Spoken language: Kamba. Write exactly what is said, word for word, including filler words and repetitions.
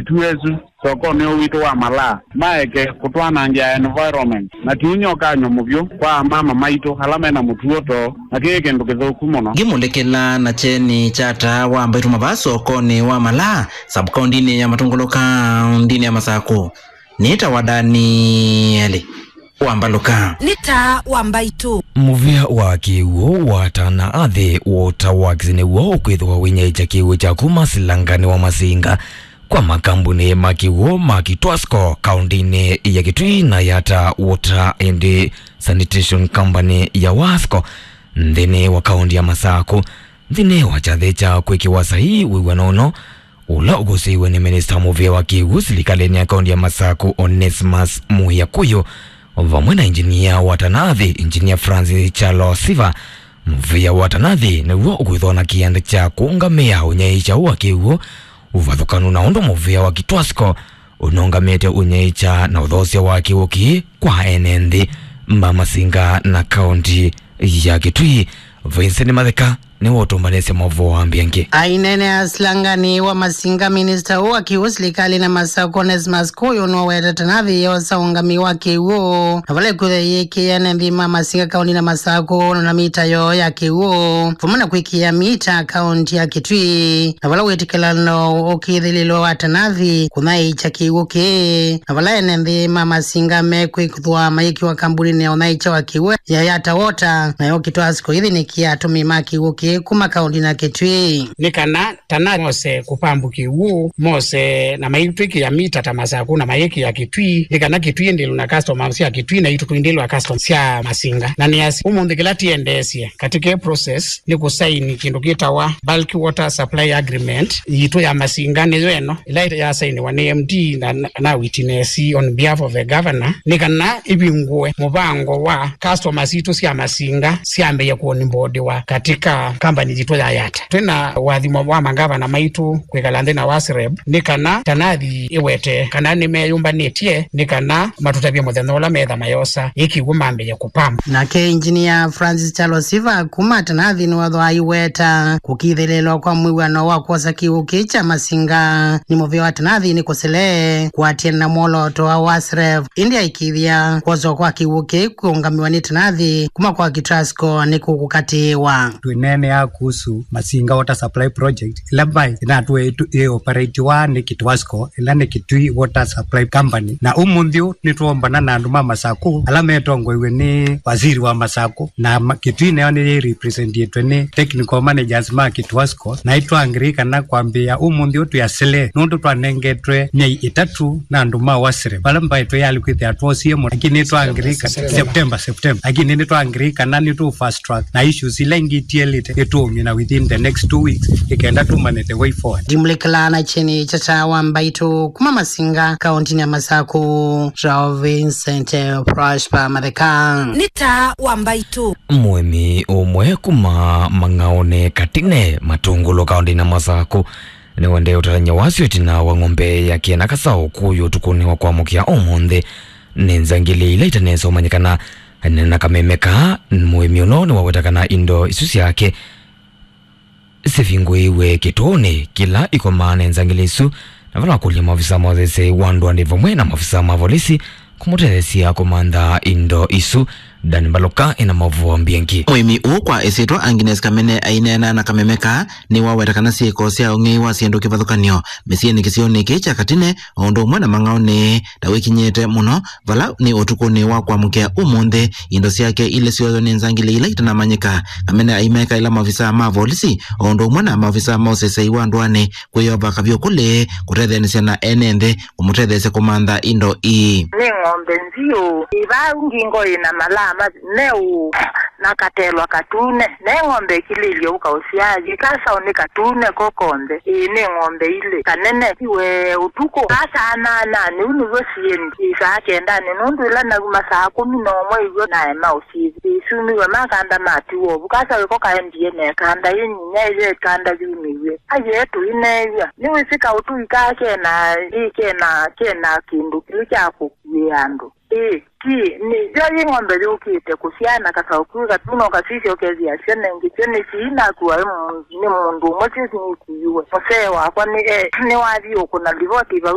Tuesu sokonĩ ũũ witũ wa Malaa maeke kũtwanangĩa environment, na tiunyokany'o mũvyũ kwa amama maitũ ala mena mũtuo too, na kĩĩ kĩndũ kĩthũku mũno. Ngĩmũlĩkĩla na kyeni kya taa wa mbaitũ mavaa sokonĩ wa Malaa, sub-kaũntinĩ ya Matũngũlũ, kaũntinĩ ya Masakũ, nĩtawa Danieli wa Mbalũka. Nĩ taa wa mbaitũ. Mũvĩa wa kĩw'ũ wa Tana Athi Water Works nĩw'o ũkwĩthĩwa wĩnyaĩĩkya kĩw'ũ kya kuma Silangani wa Masinga kwa makambuni ma kĩw'ũ ma Kitwasco kaũntinĩ ya Kitui na Yata Water and Sanitation Company ya Wasco nthĩnĩ wa kaũnti ya Masakũ. Nthĩnĩ wa kyathĩ kya kwĩkĩwa saii wĩw'ano ũno, ũla ũkũsĩiwe nĩ minista mũvĩa wa kĩw'ũ silikalĩnĩ ya kaũnti ya Masakũ, Onesmus Mũya Kũyũ, vamwe na injinia wa Tana Athi, Injinia Francis Kyalo Siva, mũvĩa wa Tana Athi nĩw'o ũkwĩthwa na kĩanda kya kũũngamĩa ũnyaĩĩkya ũũ wa kĩw'ũ, ũvathũkanu na ũndũ mũvĩa wa Kitwasco ũnũngamĩte ũnyaĩĩkya na ũthoosya wa kĩw'ũ kĩĩ kwa ene nthĩ ma Masinga na kaũnti ya Kitui. Vincent Matheka nĩwe ũtũmbanĩsye maũvoo ambĩangĩ. Aineenea Silangani wa Masinga, minista ũũ wa kĩw'ũ silikalĩnĩ ya Masakũ, Onesmus Kũyũ, nĩwaweta Tana Athi yosa ũũngamĩi wa kĩw'ũ, na vala ĩkwĩthwa ĩyĩkĩĩa ene nthĩ ma Masinga kaũntinĩ ya Masakũ na mita yoo ya kĩw'ũ, vamwe na kwĩkĩĩa mita kaũnti ya Kitui, na vala wĩtĩkĩlano ũkĩthĩlĩlwa wa Tana Athi kũnyaĩĩkya kĩw'ũ kĩĩ, na vala ene nthĩ ma Masinga mekwĩthwa mayĩkĩwa kambuninĩ ya ũnyaĩĩkya wa kĩw'ũ ya Yata Water, nayo Kitwasco ĩthĩnĩkĩa atũmĩi ma kĩw'ũ kĩĩ kuma kaũntinĩ ya Kitui. Nĩ kana Tana Athi mose kũpambu kĩw'ũ, mose na maitwĩkĩa mita ta Masakũ na mayĩkĩa Kitui, nĩ kana Kitui ĩndĩlwe na customers sya Kitui, na itũ tũindĩlwa customers sya Masinga. Na nĩasya ũmũnthĩ kĩla tĩendeesye katika ĩ process nĩ kũsaini kĩndũ kĩtawa Bulk Water Supply Agreement yitũ ya Masinga, nĩyo ĩno ĩla yasainiwa nĩ M D na, na, na witness on behalf of the governor, nĩ kana ĩvingũe mũvango wa customers sitũ sya Masinga syambĩĩe kuonboardiwa katika kambani yitũ ya Yata. Twĩ na ũathimo wa mangavana maitũ kwĩkala nthĩ na WASREB nĩ kana Tana Athi ĩwete kana nĩmeyũmbanĩtye nĩ kana matũtavye mũthenya ũla metha mayosa ĩ kĩw'ũ mambĩĩe kũpambu. Nake Engineer Francis Kyalo Siva kuma Tana Athi nĩwethwa aiweta kũkĩthĩlĩlwa kwa mwĩw'ano wa kwosa kĩw'ũ kĩĩ kya Masinga nĩ mũvĩa wa Tana Athi nĩ kũsele kũatĩana na mwolooto wa WASREB, ĩndĩ aikĩĩthya kwoswa kwa kĩw'ũ kĩĩ kũũngamĩwa nĩ Tana Athi kuma kwa Kitwasco nĩ kũkũkatĩĩwa. Twĩneenea kuhusu Masinga Water Supply Project, ĩla mbaĩ ĩnatũe ĩtu-, ĩ operatiwa nĩ Kitwasco, ĩla nĩ Kitui Water Supply Company. Na ũmũnthĩ ũũ nĩtwombana na andũ ma Masakũ ala metongoiw'e nĩ waziri wa Masakũ, na ma-, Kitui nayo nĩyĩ representĩtwe nĩ technical managers ma Kitwasco, na ĩtwangĩrĩi kana kwambĩĩa ũmũnthĩ ũũ twĩ asele, nũndũ twanengetwe myei ĩtatũ na andũ ma WASREB, vala mbaĩ twĩyalĩ kwĩthĩa twosie mũno, lakini nĩtwangĩrĩi kana September, September, lakini nĩtwangĩrĩi kana nĩtũ fast track na issues ila ingĩ itielĩte ĩtũũmye na within the next two weeks, ĩkenda tũmanye the way forward. Ndimũlĩkĩlaa na kyeni kya taa wa mbaitũ kuma Masinga, kaũntinĩ ya Masakũ, Charles Vincent Prosper Matheka. Nĩ taa wa mbaitũ. Mũĩmi ũmwe kuma Mang'aũnĩ Katine, Matũngũlũ, kaũntinĩ ya Masakũ, nĩwendee ũtavany'a wasyo ĩtina wa ng'ombe yake na kasaũ kũyũ ũtukũnĩ wa kwamũkĩa ũmũnthĩ nĩ nzangili ila itanesa ũmanyĩkana. Anena na kameme kaa, mũĩmi ũno nĩwaweta kana indo isu syake sivingũĩiwe kĩtũũnĩ kĩla ikomaa nĩ nzangili isu, na vala wakũlya maofisa ma ũseseĩ wa ndũanĩ vamwe na maofisa ma volisi kũmũtetheesya kũmantha indo isu. Dan Mbalũka ena maũvoo mbingĩ. Mũĩmi ũũ kwa ĩsyĩtwa Agnes Kamene aineena na kameme kaa nĩwaweta kana syĩko sya ũng'ei wa syĩndũ kĩvathũkany'o mĩsyĩnĩ kĩsionĩ kĩĩ kya Katine o ũndũ ũmwe na Mang'aũnĩ ta wĩkinyĩte mũno, vala nĩ ũtukũnĩ wa kwamũkĩa ũmũnthĩ indo syake ilĩ syoywa nĩ nzangili ila itanamanyĩka. Kamene aimeka ĩla maovisaa ma volisi o ũndũ ũmwe na maovisaa ma ũseseĩ wa ndũanĩ kwĩyova kavyũ kũlĩ kũtetheanĩsya na ene nthĩ kũmũtetheesya kũmantha indo ii. Nĩ ng'ombe nziũ ĩ vau ngingo ĩna malaa ma-, meũ na katelwa katune. Ne ng'ombe ĩkilĩlye ũka ũsyaa yĩ kasaũ nĩ katune ko konthe. Ĩĩ, nĩ ng'ombe ilĩ. Kanene ti we ũtukũ. Asa anana nĩu nĩw'o siendi ĩ saa kendanĩ, nũndũ ĩla nauma saa kũmi na ũmwe ĩw'o naema ũsyĩthya. Ĩsumiwe makanda matiwa ũvu. Kasaũ ĩko kaendie na ĩkanda yĩ nyinya ĩyo ĩkanda yumĩw'e. Aye tũineew'a. Nĩwĩsĩ kaũtũi kaa kena, ĩ kena, kena kĩndũ kĩu kya kũkuĩa andũ. Ĩĩ, ti, nĩ, yo yĩ ng'ombe yũkĩte kũsyaa na kasaũ kĩu katune ũkasisya ũkethĩa syana ingĩ syo nĩ sii nakua nĩ mũndũ ũmwe syo sinikuiwe. Mũsee wakwa nĩ, e, nĩwathi ũkũna livoti vau.